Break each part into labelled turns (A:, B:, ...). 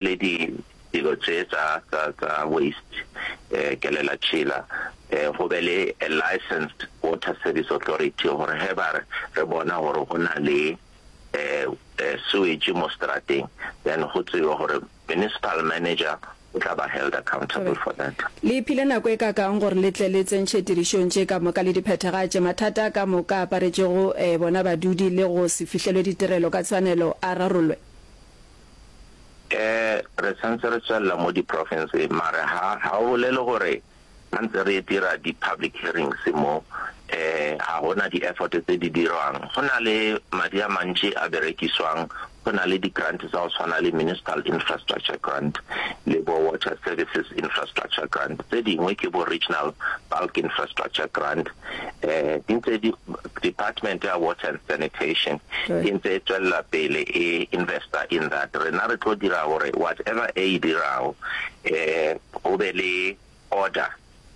A: Le di dilo tše tša, tša, tša waste, eh, kelela tšhila, eh, go be le a licensed water service authority gore ge ba re, re bona gore go na le, eh, eh, sewage mo strateng, then go tsebe gore municipal manager o tla ba held accountable for that.
B: Le iphile nako e kakang gore le tle le tsentšhe tirišong tše ka moka le di phethagatše? Mathata a ka moka a aparetšego, eh, bona badudi le go se fihlelwe ditirelo ka tshwanelo a rarollwe?
A: Eh, re santse re tswelela mo di-province mare ha ha o bolele gore ha ntse re dira di-public hearings mo eh ha gona di-effort tse di dirwang. Go na le madi a mantši a berekiswang, go na le di-grant tsa go tshwana le Municipal Infrastructure Grant le bo Water Services Infrastructure Grant, tse dingwe ke bo Regional Bulk Infrastructure Grant. Eh, di ntse di, Department ya Water and Sanitation e ntse e tswelela pele e investa in that. Rena re tlo dira gore whatever e e dirago, eh, go be le order,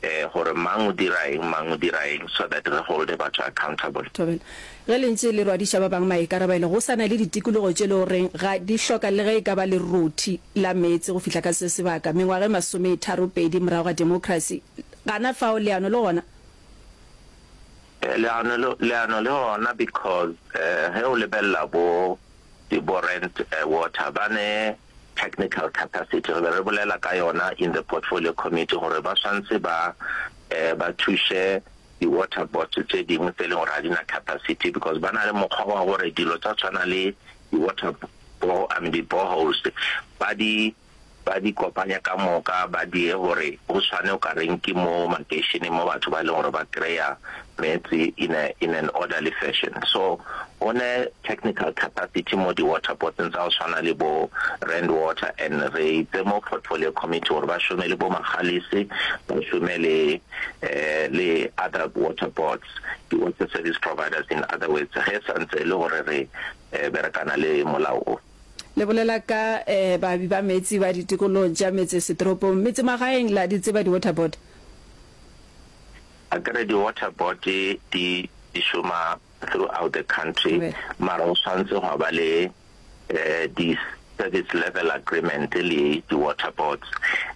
A: eh, gore mang o dira eng, mang o dira eng, so that re holde batho accountable.
B: Thobela. Ge le ntše le rwadiša ba bangwe maikarabelo, go sa na le ditikologo tše le goreng ga di hloka le ge e ka ba lerothi la meetse go fihla ka se sebaka, mengwaga e masometharopedi morago ga demokrasi. Gana fao leano le gona?
A: Leano le, leano le gona because ge o lebelela bo di bo Rand Water ba ne technical capacity, re be re bolela ka yona in the portfolio committee gore ba swantse ba ba thuše di water boards tše dingwe tse e leng gore ga di na capacity because ba na le mokgwa wa gore dilo tsa tshwana le di water I mean di boreholes ba di ba di kopanya ka moka ba die gore go tshwane o ka reng ke mo makeišeneng mo batho ba e leng gore ba kry-a meetse in a in an orderly fashion. So go ne technical capacity mo di water boards-eng tsa go tshwana le bo Rand Water and re itse mo portfolio committee gore ba šome le bo Magalies, ba šome le le other water boards, di water service providers in other words ge santse e le gore re berekana le molao o.
B: Le bolela ka baabi ba meetse ba ditikologong tša metsesetoropong. Metsemagaeng la di tseba di-water board?
A: Akere di-water board di di šoma throughout the country, mara go swantse gwa ba le di-service level agreement le di-water boards.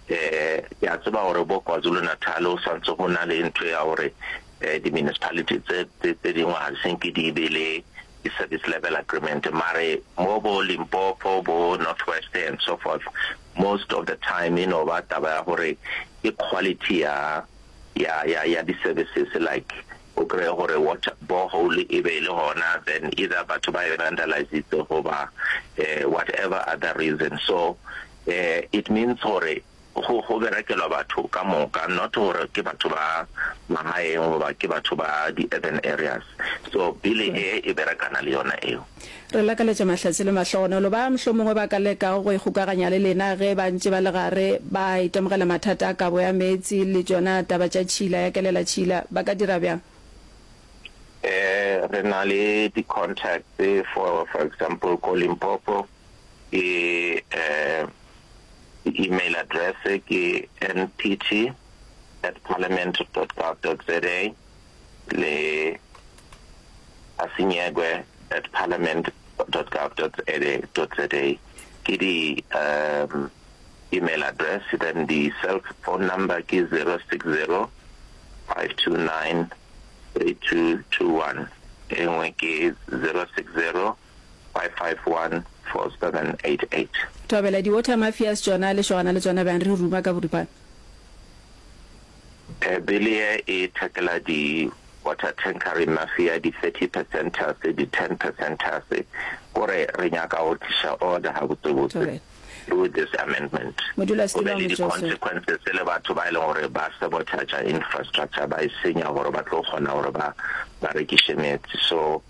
A: Ke a tseba gore bo KwaZulu-Natal go swantse go na le ntho ya gore di-municipality tse tse dingwe ga di senke di be le di service level agreement mare mo bo Limpopo bo North West and so forth most of the time e no ba taba ya gore ke quality ya ya ya ya di services like o kreye gore water borehole e be e le gona then either batho ba e vandalizitse goba eh, whatever other reason so eh, it means gore Go, go berekelwa batho ka moka, not gore ke batho ba magaeng goba ke batho ba di-urban areas. So bill e e berekana le yona eo.
B: Re lakaletša mahlatse le mahlogonolo ba mohlomongwe ba ka lekago go ikgokaganya le lena ge ba ntše ba le gare ba itemogela mathata a kabo ya meetse le tšona taba tša tšhila ya kelela tšhila. Ba ka dira bjang?
A: Eh, re na le di-contacts for, for example, ko Limpopo ke eh, Email address ke npt at parliament dot gov dot za le asinyegwe at parliament dot gov dot za ke di um email address then di cell phone number ke 060 529 3221 e nngwe ke 060 5514788.
B: Thobela, Di water mafias tšona le šogana le tšona bjang? Re ruma ka boripana.
A: Bill ye e tackla di water tankering mafia, di 30 percenters, di 10 percenters, kore re nyaka go tliša order gabotsebotse through this amendment. Go
B: Modulasetulo
A: be
B: wa
A: le di
B: Motšwaoswere.
A: consequences le batho ba e leng gore ba sabotage infrastructure, ba e senya gore ba tlo kgona gore ba ba rekiše meetse. So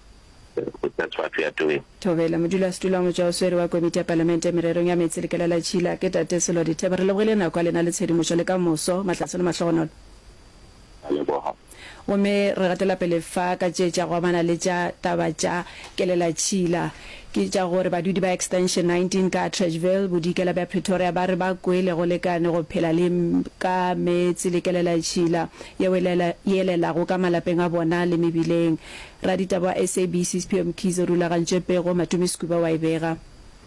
A: That's what we are doing.
B: Thobela, Modulasetulo wa Motšwaoswere wa Komiti ya Palamente Mererong ya Meetse le Kelelatšhila, ke Tate Sello Dithebe. Re lebogile nako ya lena le tshedimošo le ka moso. Mahlatse le mahlogonolo.
A: Ra leboga.
B: Gomme re gatela pele fa ka tše tša go amana le tša taba tša kelelatšhila. Ke tša gore badudi ba Extension 19 ka Atteridgeville, bodikela bja Pretoria ba re ba kwele go lekane go phela le ka meetse le kelelatšhila yeo e elelago ka malapeng a bona le mebileng. Raditaba wa SABC Sphiwe Mkhize o rulagantše pego, Matome Sekuba wa e bega.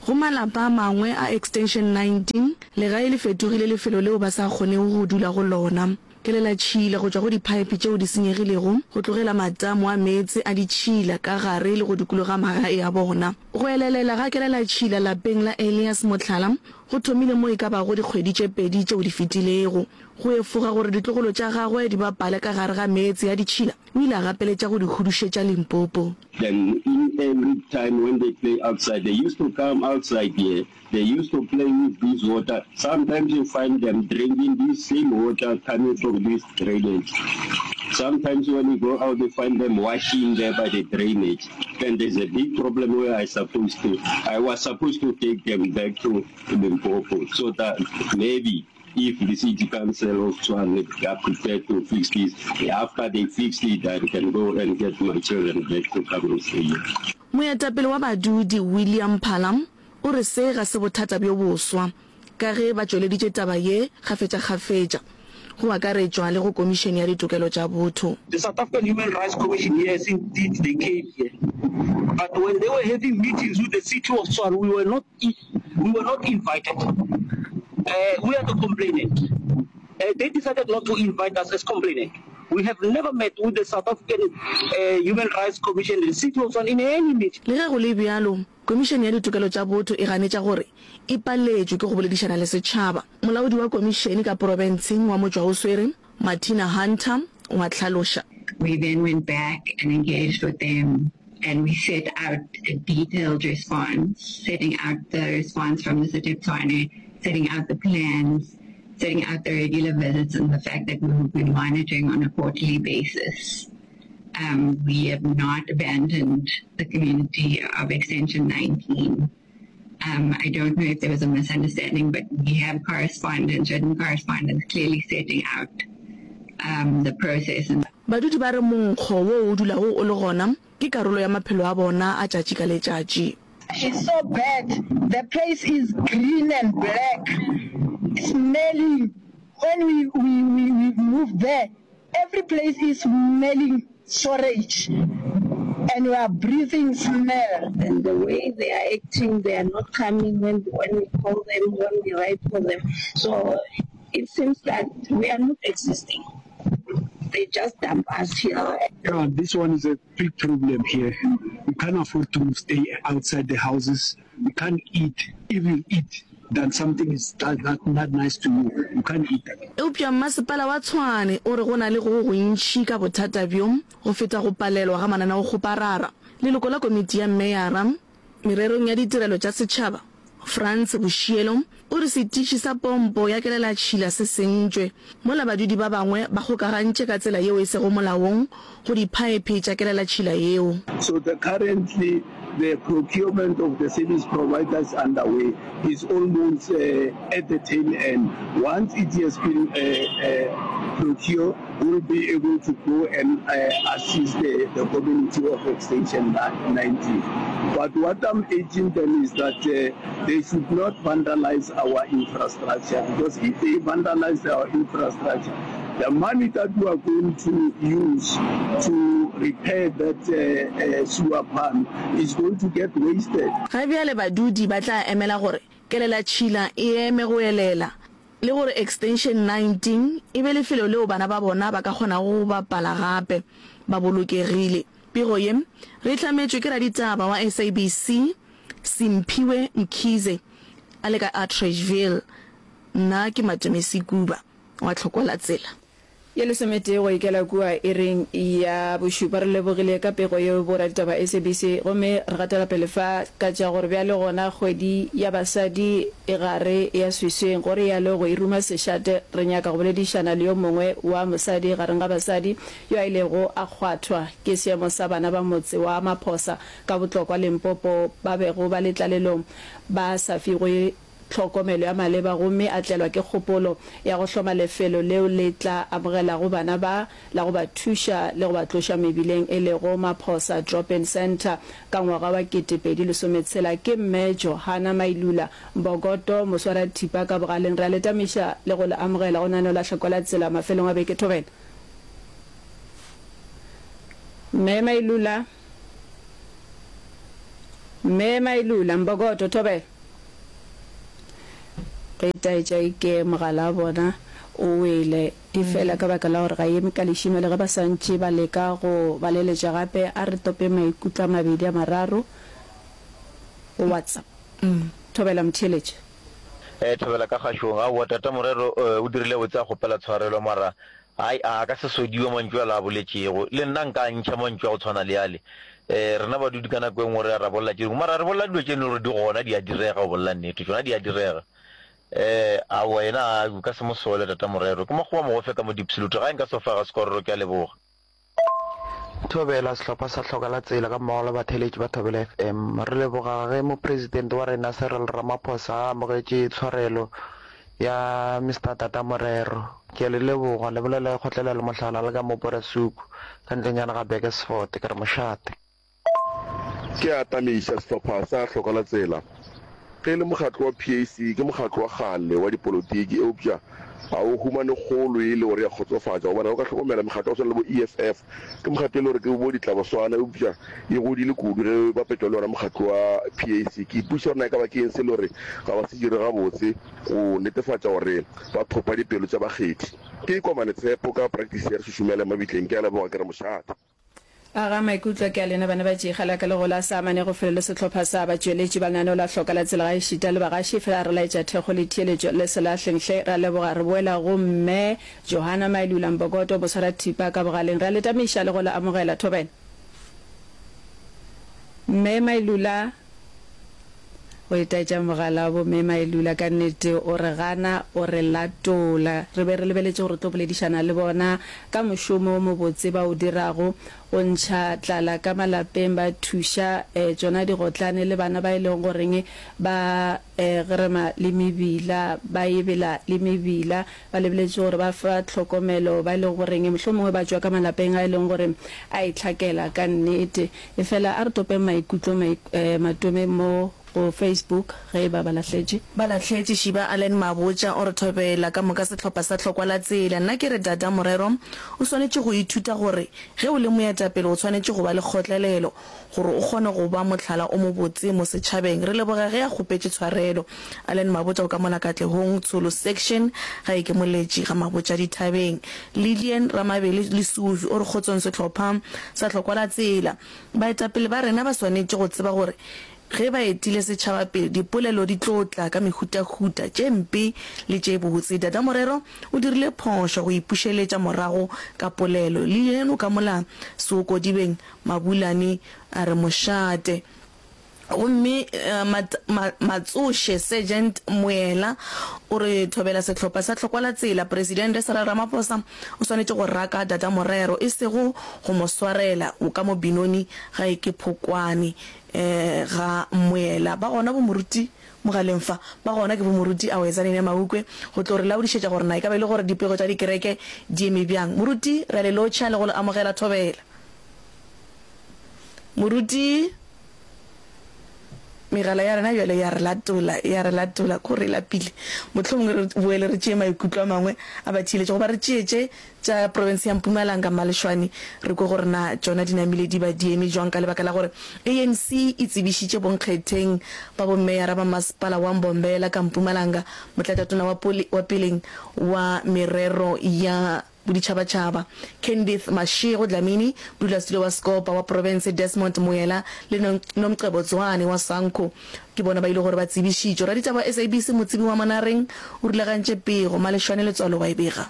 C: Go malapa a mangwe a Extension 19, legae le fetogile lefelo leo ba sa kgonego go dula go lona. Kelelatšhila go tšwa go diphaephe tšeo di senyegilego go tlogela matamo a meetse a ditšhila ka gare le go dikologa magae a bona. Go elelela ga kelelatšhila lapeng la Elias Mohlala go thomile mo e ka bago dikgwedi tše pedi tšeo di fetilego. Go efoga gore ditlogolo tša gagwe di bapale ka gare ga meetse a ditšhila, o ile a gapeletša go di hudušetša Limpopo.
D: Then in every time when they play outside, they used to come outside here, they used to play with this water, sometimes you find them drinking this same water coming from this drainage. Sometimes when you go out you find them washing there by the drainage. Then there's a big problem where I supposed to, I was supposed to take them back to Limpopo so that maybe If the city council of Tshwane are prepared to fix this, after they fix it I can go and get my children back to come and stay here.
C: Moetapele wa badudi William Phala o re se ga se bothata bjo boswa ka ge ba tšweleditše taba ye kgafetšakgafetša, go akaretšwa le go Komišene ya Ditokelo tša Botho.
E: The South African Human Rights Commission yes indeed they came here but when they were having meetings with the city of Tshwane we were not We were not invited. Uh, we are the complainant. Uh, they decided not to invite us as complainant. We have never met with the South African uh, Human Rights Commission, the city of Tshwane in any meeting.
C: Le ge go le bjalo, Komišene ya Ditokelo tša Botho e ganetša gore e paletšwe ke go boledišana le setšhaba. Molaodi wa komišene ka porofenseng wa Motšwaoswere, Martina Hunter, o a hlaloša.
F: We then went back and engaged with them and we set out a detailed response, setting out the response from the City of Tshwane, setting out the plans, setting out the regular visits and the fact that we will be monitoring on a quarterly basis. Um, we have not abandoned the community of Extension 19. Um, I don't know if there was a misunderstanding, but we have correspondence, written correspondence clearly setting out um, the process. And
C: Badudi ba re monkgo wo o dulago o le gona ke karolo ya maphelo a bona a tšatši ka letšatši.
G: It's so bad, the place is green and black, smelling, when we, we, we, we move there, every place is smelling sewerage and we are breathing smell.
H: And the way they are acting, they are not coming when, when we call them, when we write for them. So it seems that we are not existing. They just dump us here.
I: Yeah, this one is a big problem here. We can't afford to stay outside the houses. We can't eat. If you eat, then something is not, not nice to you. You can't eat.
C: Eupša mmasepala wa Tshwane o re go na le go gontši ka bothata bjo go feta go palelwa ga mananeokgoparara. Leloko la komiti ya meyara mererong ya ditirelo tša setšhaba, Frans Boshielo, o re setiši sa pompo ya kelelatšhila se sentšwe, mola badudi ba bangwe ba kgokagantše ka tsela yeo e sego molaong go diphaephe tša kelelatšhila yeo.
D: So the currently the procurement of the service providers underway is almost at the tail end. Once it has been procured, we'll be able to go and assist the, the community of Extension 19. But what I'm urging them is that they should not vandalize our infrastructure, because if they vandalize our infrastructure, the money that we are going to use to repair that uh, uh, sewer pump is going to get wasted.
C: Ga bjale badudi ba tla emela gore kelelatšhila e eme go elela le gore Extension 19 e be lefelo leo bana ba bona ba ka kgonago go bapala gape ba bolokegile. Pego ye re e hlametšwe ke raditaba wa SABC Simphiwe Mkhize a le ka Atteridgeville. Nna ke Matome Sekuba wa Tlhokwa la Tsela.
B: Ye lesometee go ikela kua iring ya bošupa. Re lebogile ka pego yeo boraditaba SABC gomme re gatela pele fa ka tša gore bjale gona kgwedi ya basadi e gare ya swiswing. Go realo go e ruma sešate re nyaka go boledišana le yo mongwe wa mosadi gareng ga basadi yo a ilego a kgwathwa ke seemo sa bana ba motse wa Maphosa ka Botlokwa Limpopo ba bego ba le tlalelong ba sa figwe tlhokomelo ya maleba gomme a tlelwa ke kgopolo ya go hloma lefelo leo le tla amogelago bana ba la go ba thuša le go ba tloša mebileng e lego Maphosa Drop-In Centre ka ngwaga wa 2016 ke Mme Johanna Mailula Mbokoto, moswarathipa ka bogaleng. Re a le tamiša le go le amogela go lenaneo la Hlako la Tsela mafelong a beke. Thobela. Mme Mailula. Mme Mailula Mbokoto, Thobela. Go itaetša eke mogala wa bona o wele, efela ka baka la gore ga e eme ka lešima le ge ba sa ntše ba leka go ba leletša gape, a re tope maikutlo a mabedi a mararo go WhatsApp. Thobela motheeletši.
J: Eh thobela ka kgašong. Aowa tata Morero o dirile botse a kgopela tshwarelo mara hai a ka se sodiwe mantšu ale a boletšego. Le nna nka a ntšha mantšu a go tshwana le ale. Eh rena badudi ka nako e nngwe re a ra bolela tše dingwe mara re bolela dilo tše e leng gore di gona di a direga go bolela nnete tšona di a direga. Eh aowa yena a o ka se mo sole tata Morero. Ke makgowa mogofe ka mo Diepsloot gae nka se o fa ga sekororo ke a leboga.
K: Thobela, Sehlopha sa Hloka la Tsela ga mmogo le batheeletši ba Thobela FM. Re leboga ge Mopresidente wa rena Cyril Ramaphosa a amogetše tshwarelo ya Mister Tata Morero. Ke a le leboga. Le bolela e kgotlelela mohlala le ka mo Borasuku, ka ntlenyana ga Burgersfort. Ke re mošate.
L: Ke a atamiša sehlopha sa Hloka la Tsela. Ge e le mokgatlo wa PAC, ke mokgatlo wa kgale wa dipolotiki, eupša ga o humane kgolo e le gore ya kgotsofatša, gobane ge o ka hlokomela mekgatlo ya go swana le bo EFF, ke mekgatlo e le gore ke bo ditlaboswana, eupša e godile kudu ge e bapetšwa le wona mokgatlo wa PAC. Ke ipotšiša gore na e ka ba ke eng se e le gore ga ba se dire gabotse go netefatša gore ba thopa dipelo tša bakgethi. Ke Komane Tshepo ka Practice ya Re Šušumele Mabitleng. Ke a leboga, ke re mošate.
B: Aga maikutlo ke a lena bana ba Tšikga la ka le gola sa amane go felo le sehlopha sa batšweletši ba lenaneo la Hloka la Tsela gaešita le bagaši fela re laetša thekgo le theeletšo le selahleng hle ra leboga re boela go Mme Johanna Mailula Mbokoto boswarathipa ka bogaleng re a le tamiša le go le amogela thobela Mme Mailula Go itaetša mogala wa bo Mme Mailula ka nnete o re gana o re latola. Re be re lebeletše gore re tlo boledišana le bona ka mošomo o mobotse ba o dirago go ntšha tlala ka malapeng ba thuša tšona digotlane le bana ba e leng goreng ba gerema le mebila ba ebela le mebila ba lebeletše gore ba fa tlhokomelo ba e leng goreng mohlomongwe ba tšwa ka malapeng a e leng gore a itlhakela ka nnete. Efela a re topeng maikutlo matome mo go Facebook ge e ba ba lahletše.
C: Ba lahletše, Shiba Allen Mabotja o re thobela ka moka sehlopha sa Hlokwa la Tsela. Nna ke re Dada Morero o swanetše go ithuta gore ge o le moetapele o swanetše go ba le kgotlelelo gore o kgone go ba mohlala o mobotse mo setšhabeng. Re leboga ge a kgopetše tshwarelo. Allen Mabotja o ka mola Katlehong, Tsholo Section, ga e ke Moletši ga Mabotja Dithabeng. Lillian Ramabele Lesufi o re kgotsong sehlopha sa hlokwa la tsela. Baetapele ba rena ba swanetše go tseba gore ge ba etile setšhaba pele, dipolelo di tlo tla ka mehutahuta, tše mpe le tše botse. Dada Morero o dirile phošo go ipušeletša morago ka polelo. Lillian o ka mola Seokodibeng Mabulane a re mošate. Gomme Matsoše Sergeant Moela o re thobela sehlopha sa Hlokwa la Tsela. Presidente Cyril Ramaphosa o swanetše go raka Dada Morero, e sego go mo swarela o ka mo Benoni ga e ke Phokwane ga Moela. Ba gona bo moruti mogaleng fa? Ba gona ke bo moruti Awezanene Maukwe go tlo re laodišetša gore na e ka ba e le gore dipego tša dikereke di eme bjang. Moruti, re a le lotšha le go le amogela thobela. Moruti. Megala ya rena bjale ya re latola, ya re latola, ko re lapile. Mohlomongwe re boele re tšee maikutlo a mangwe a batheeletši, goba re tšee tše tša profense ya Mpumalanga, Malešwane, re kwe gore na tšona di namile di ba di eme jwang ka lebaka la gore ANC e tsebišitše bonkgetheng ba bommeyara ba masepala wa Mbombela ka Mpumalanga, motlatšatona wa wa peleng wa merero ya Boditšhabatšhaba, Candith Mashego Dlamini, modulasetulo wa Scopa wa profense Desmond Moela le Nomcebo Zwane wa Sanco ke bona ba ile gore ba tsebišitšwe. Raditaba wa SABC Motsebi wa Monareng o rulagantše pego, Malešwane Letswalo wa e bega.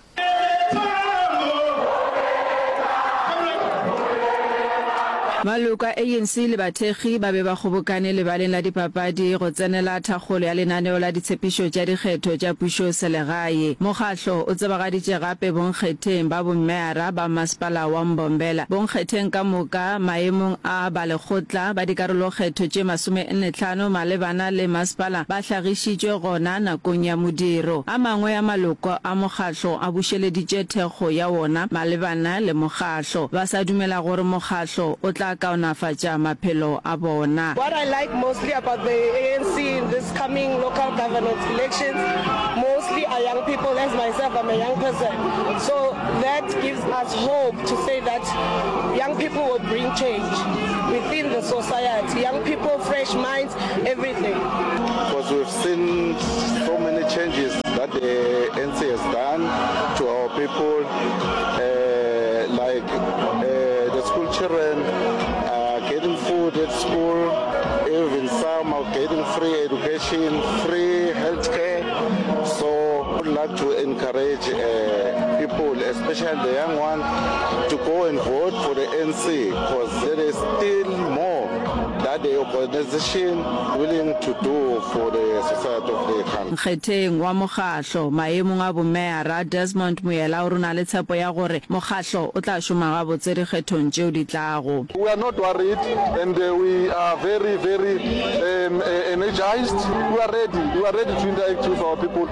B: Maloko a ANC le bathekgi ba be ba kgobokane lebaleng la dipapadi go tsenela thakgolo ya lenaneo la ditshepišo tša dikgetho tša pušoselegae. Mokgahlo o tsebagaditše gape bonkgetheng ba bommeara ba masepala wa Mbombela, bonkgetheng ka moka maemong a balekgotla ba dikarolokgetho tše masomennetlhano malebana le masepala ba hlagišitšwe gona nakong ya modiro. A mangwe a maloko a mokgahlo a bušeleditše thekgo ya wona malebana le mokgahlo, ba sa dumela gore mokgahlo o tla kaonafatša maphelo a bona.
M: What I like mostly about the ANC in this coming local governance elections mostly are young people as myself. myself, I'm a young person. So that gives us hope to say that young people will bring change within the society. Young people, fresh minds, everything.
N: Because we've seen so many changes that the ANC has done to our people, uh, like uh, the school children are getting food at school, even some are getting free education, free health care. So I would like to encourage uh, people, especially the young ones, to go and vote for the ANC because there is still more that the organization willing to do for the society of the country.
B: Nkgetheng wa mokgahlo maemong a bomeyara, Desmond Moyela o re o na le tshepo ya gore mokgahlo o tla šoma gabotse dikgethong tšeo di tlago.
O: We are not worried and we are very very um, energized. We are ready. We are ready to interact with our people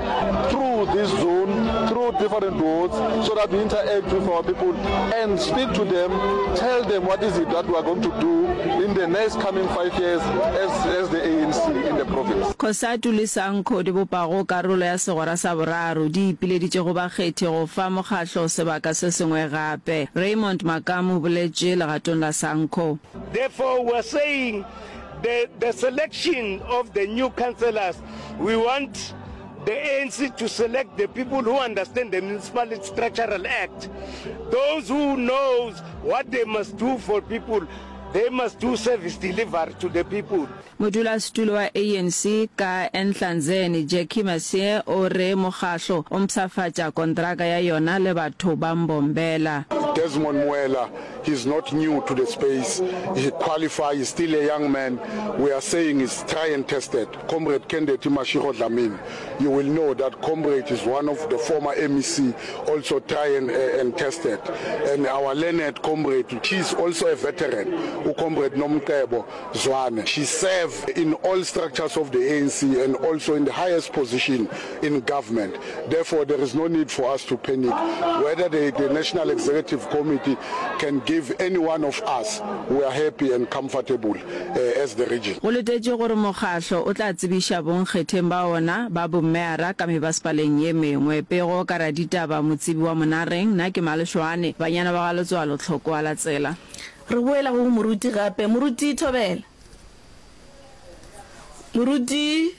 O: through this zone, through different wards, so that we interact with our people and speak to them, tell them what is it that we are going to do in the next coming 5 years as, as the ANC in the province.
B: Cosatu le Sanco di bopago karolo ya segwera sa boraro di ipileditše go bakgethi go fa mokgahlo sebaka se sengwe gape. Raymond Makamu o boletše legatong la Sanco.
P: Therefore we are saying the, the selection of the new councillors, we want the ANC to select the people who understand the Municipal Structural Act, those who knows what they must do for people, they must do service delivery to the people.
B: Modulasetulo wa ANC ka Enhlanzeni, Jackie Masie o re mokgahlo o mpshafatša kontraka ya yona le batho ba Mbombela.
O: Desmond Moela, he's not new to the space, he qualify, he's still a young man, we are saying he's try and tested. Comrade Kendeti Mashego Dlamini, you will know that Comrade is one of the former MEC, also try and, and tested. And our learned comrade, she is also a veteran, uComrade Nomcebo Zwane. She served in all structures of the ANC and also in the highest position in government. Therefore, there is no need for us to panic. Whether the, the National Executive Committee can give any one of us, we are happy and comfortable uh, as the region.
B: Go letetšwe gore mokgahlo o tla tsebiša bonkgetheng ba ona ba bommeara ka mebasepaleng ye mengwe. Pego ka raditaba Motsebi wa Monareng, nna ke Malešoane, banyana ba ga Letswalo Tlhokoa la tsela.
C: Re boela go moruti gape. Moruti Thobela. Moruti.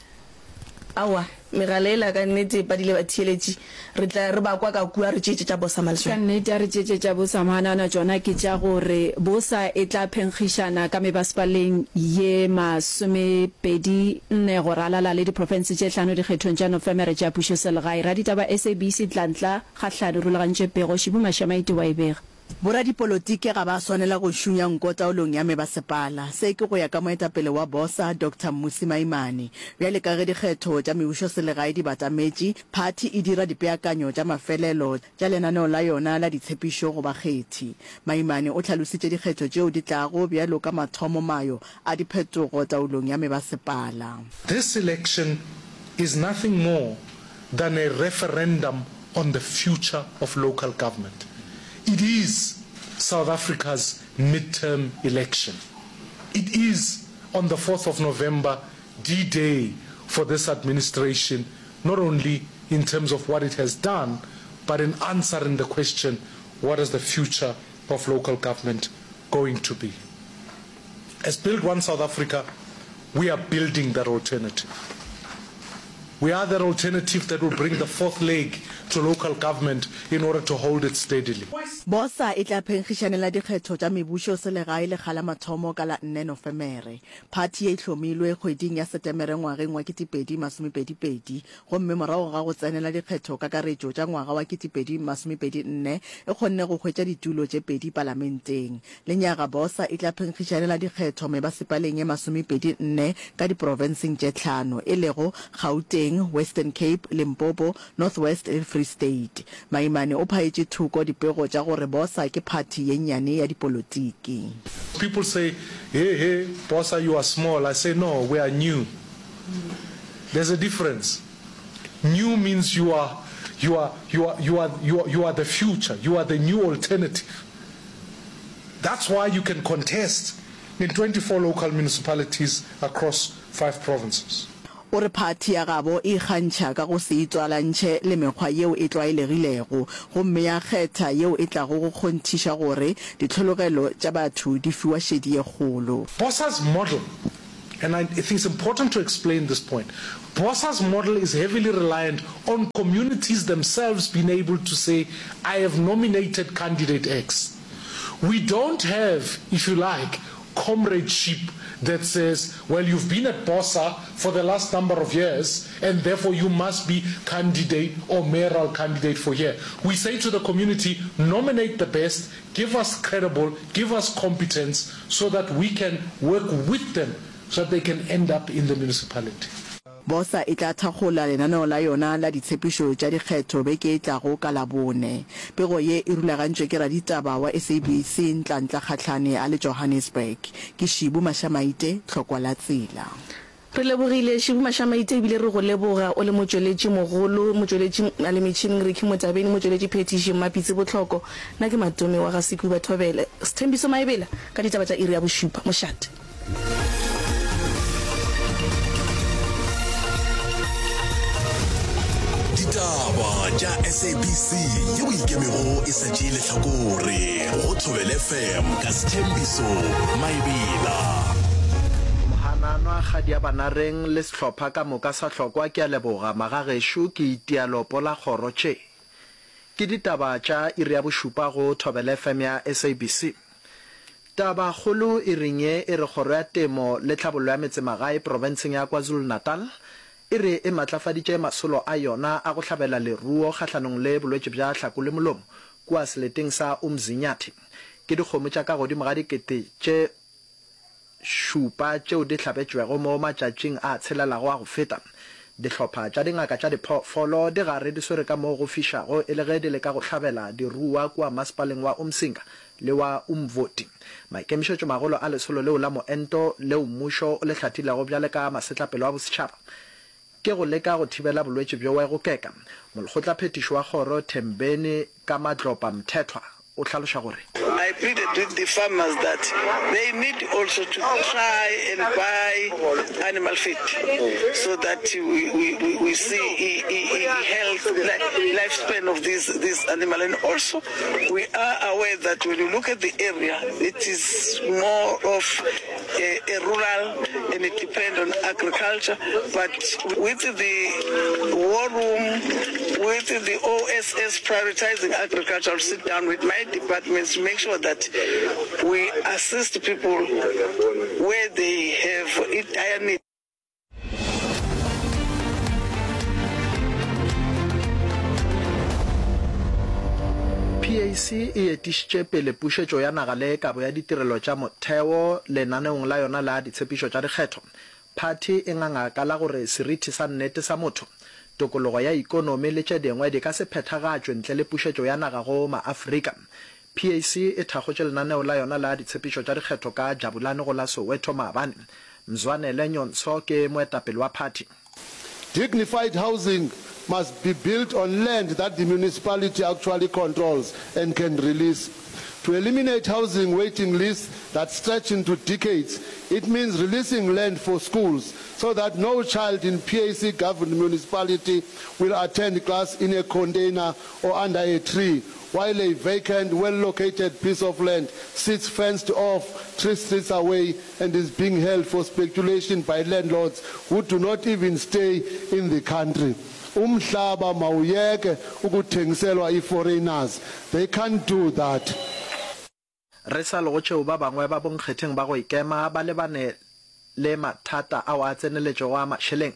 C: Aowa, megala yela ka nnete e padile batheeletši. Re tla re ba kwa ka kua re tšeetše tša bosa Maleswana.
B: Ka nnete a re tšeetše tša bosa Mhanana tšona ke tša gore bosa e tla phenkgišana ka mebasepaleng ye masomepedi nne go ralala le diprofense tše hlano dikgethong tša Nofemere tša pušoselegae. Raditaba SABC Tlantla Kgahlane o rulagantše pego, Šibu Mašamaite wa e bega.
Q: Boradipolotiki ga ba swanela go šunya nko taolong ya mebasepala. Se ke go ya ka moetapele wa Bosa, Doctor Mmusi Maimane. Bjale ka ge dikgetho tša mebušoselegae di batametše, phathi e dira dipeakanyo tša mafelelo tša lenaneo la yona la ditshepišo go bakgethi. Maimane o hlalositše dikgetho tšeo di tlago bjalo ka mathomomayo a diphetogo taolong ya mebasepala.
R: This election is nothing more than a referendum on the future of local government. It is South Africa's midterm election. It is on the 4th of November, D-Day for this administration, not only in terms of what it has done, but in answering the question, what is the future of local government going to be? As Build One South Africa, we are building that alternative. We are that alternative that will bring the fourth leg to local government in order to hold it steadily.
Q: Bosa e tla phenkgišanela dikgetho tša mebušo selegae lekga la mathomo ka la nne Nofemere. Phathi ye e hlomilwe kgweding ya Setemere ngwageng wa 2022 gomme morago ga go tsenela dikgetho kakaretšo tša ngwaga wa 2024 e kgonne go hwetša ditulo tše pedi palamenteng. Lenyaga Bosa e tla phenkgišanela dikgetho mebasepaleng ye masomepedi-nne ka diprofenseng tše tlhano, e lego Gauteng, Western Cape, Limpopo, North West le Free State. Maimane o phaetše thoko dipego tša gore Bosa ke phathi ye nnyane ya dipolotiki.
R: People say, Hey, hey, Bosa, you are small. I say, No, we are new. There's a difference. New means you are, you are, you are, you are, you are, you are the future. You are the new alternative. That's why you can contest in 24 local municipalities across five provinces.
Q: O re phathi ya gabo e ikgantšha ka go se itswalantšhe le mekgwa yeo e tlwaelegilego gomme ya kgetha yeo e tlago go kgonthiša gore ditlhologelo tša batho di fiwa šedi ye kgolo.
R: BOSA's model, and I think it's important to explain this point, BOSA's model is heavily reliant on communities themselves being able to say, I have nominated candidate X. We don't have, if you like, comradeship that says, well, you've been at BOSA for the last number of years, and therefore you must be candidate or mayoral candidate for here. We say to the community, nominate the best, give us credible, give us competence, so that we can work with them so that they can end up in the municipality.
Q: Bosa e tla thakgola lenaneo la yona la ditshepišo tša dikgetho beke e tlago ka Labone. Pego ye e rulagantšwe ke raditaba wa SABC Ntlantla Kgahlane a le Johannesburg. Ke Šibu Mašamaite, Tlhokwa la Tsela.
C: Re lebogile Šibu Mašamaite ebile re go leboga o le motšweletši mogolo, motšweletši a le metšhineng Ricky Motabeni, motšweletši phethiši Mmapitsi Bohloko. Nna ke Matome wa ga Sekuba Thobele. Sthembiso Maebela ka ditaba tša iri ya bošupa. Mošate.
S: Ditaba tša SABC yeo ikemego e sa tšee lehlakore go Thobela FM ka Sthembiso Maebela.
T: Mohananwa Kgadi ya Banareng le sehlopha ka moka sa Hlokwa ke a leboga magagešo ke itia lopo la kgoro tše ke ditaba tša iri ya bošupa go Thobela FM ya SABC. Tabakgolo e reng ye e re Kgoro ya Temo le Tlhabollo ya Metsemagae profenseng ya KwaZulu-Natal e re e matlafaditše masolo a yona a go hlabela leruo kgahlanong le bolwetši bja hlako le molomo kua seleteng sa Umzinyathi. Ke dikgomo tša ka godimo ga dikete tše šupa tšeo di hlabetšwego mo matšatšing a tshelelago a go feta. Dihlopha tša dingaka tša diphoofolo di gare di swere ka moo go fišago e le ge di leka go hlabela diruwa kua masepaleng wa Umsinga le wa Umvoti. Maikemišetšomagolo a lesolo leo la moento leo mmušo o le hlathilego bjale ka masetlapelo a bosetšhaba ke go leka go thibela bolwetši bjoe go keka. Molekgotlaphethiši wa kgoro Thembeni Kamadlopa Mthethwa o hlaloša gore.
U: I pleaded with the farmers that they need also to try and buy animal feed so that we, we, we, we see e, e, health, lifespan of this, this animal. And also we are aware that when you look at the area, it is more of a, a rural and it depends on agriculture. But with the war room, with the OSS prioritizing agriculture, I'll sit down with my departments to make sure that we assist people where they have a dire need.
T: PAC e etišitše pele pušetšo ya naga le kabo ya ditirelo tša motheo lenaneong la yona la ditshepišo tša dikgetho. Phathi e nganga ka la gore seriti sa nnete sa motho, tokologo ya ikonomi le tše dingwe di ka se phethagatšwe ntle le pušetšo ya naga go maAfrika. PAC e thakgotše lenaneo la yona la ditshepišo tša dikgetho ka Jabulani go la Soweto maabane. Mzwanele Nyontsho ke moetapele wa phathi.
N: Dignified housing must be built on land that the municipality actually controls and can release. To eliminate housing waiting lists that stretch into decades, it means releasing land for schools so that no child in PAC-governed municipality will attend class in a container or under a tree while a vacant, well-located piece of land sits fenced off three streets away and is being held for speculation by landlords who do not even stay in the country. Umhlaba mawuyeke ukuthengiselwa i-foreigners. They can't do that.
T: Re sa le go tšeo ba bangwe ba bonkgetheng ba go ikema ba lebane le mathata ao a tseneletšego a mašeleng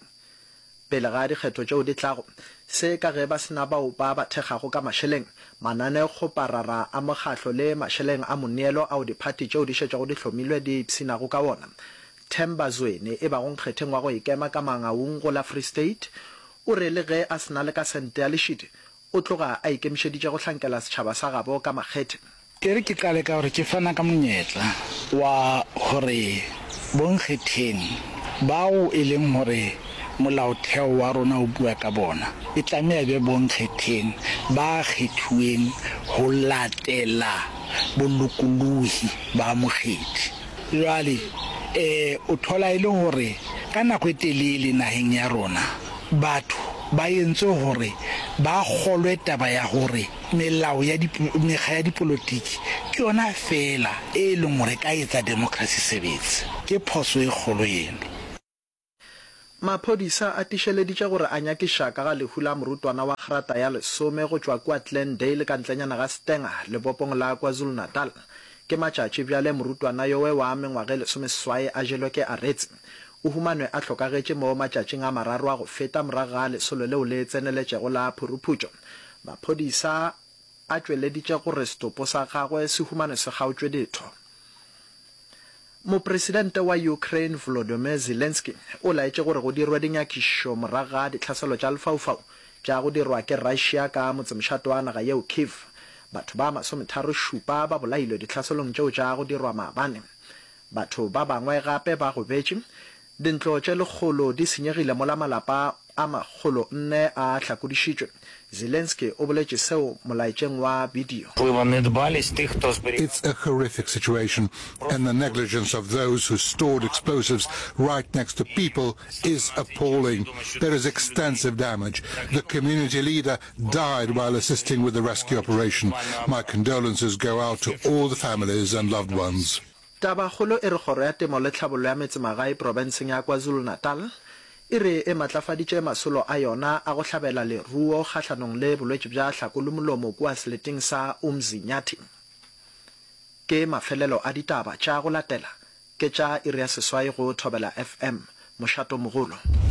T: pele ga dikgetho tšeo di tlago. Se ka ge ba se na bao ba ba thekgago ka mašeleng, mananeokgoparara a mokgatlo le mašeleng a moneelo ao diphathi tšeo di šetšego di hlomilwe di ipshinago ka wona. Themba Zweni e bago nkgetheng wa go ikema ka Mangaung go la Free State o re le ge a se na le ka sente ya lešidi, O tloga a ikemišeditše go hlankela setšhaba sa gabo ka makgethe.
V: E re ke qale ka gore ke fana ka monyetla wa gore bonkgetheng bao e leng gore molaotheo wa rona o bua ka bona e tlameha e be bonkgetheng ba kgethuweng ho latela bolokolohi ba mokgethi. Jwale o thola e le gore. Ka nako e telele naheng ya rona, batho ba entswe hore ba kgolwe taba ya hore melao ya mekga ya dipolotiki ke yona feela e leng hore e ka etsa demokrasi sebetse. Ke phoso e kgolo eno.
T: Maphodisa a tišeleditše gore a nyakiša ka ga lehu la morutwana wa grata ya lesome go tšwa kua Glendale ka ntlenyana ga Stanger, lebopong la KwaZulu-Natal. Ke matšatši bjale morutwana yowe wa mengwaga e lesomeseswai a jelwe ke aretse. O humanwe a hlokagetše mo matšatšing a mararo a go feta morago ga lesolo leo le tseneletšego la phuruphutšo. Maphodisa a tšweleditše gore setopo sa gagwe se humanwe se kgaotšwe ditho. Mopresidente wa Ukraine Volodymyr Zelensky o laetše gore go dirwe dinyakišišo morago ga ditlhaselo tša lefaufau tša go dirwa ke Russia ka motsemošate wa naga yeo Kyiv. Batho ba masometharošupa ba bolailwe ditlhaselong tšeo tša go dirwa maabane. Batho ba bangwe gape ba gobetše. Dintlo tše lekgolo di senyegile mola malapa a makgolonne a hlakodišitšwe. Zelensky o boletše seo molaetšeng wa bidio.
A: It's a horrific situation and the negligence of those who stored explosives right next to people is appalling. There is extensive damage. The community leader died while assisting with the rescue operation. My condolences go out to all the families and loved ones.
T: Tabakgolo e re Kgoro ya Temo le Tlhabollo ya Metsemagae profenseng ya KwaZulu-Natal e re e matlafaditše masolo a yona a go hlabela leruo kgahlanong le bolwetši bja hlakolomulomo kua seleteng sa Umzinyathi. Ke mafelelo a ditaba tša go latela ke tša iri ya seswai go Thobela FM, mošatomogolo.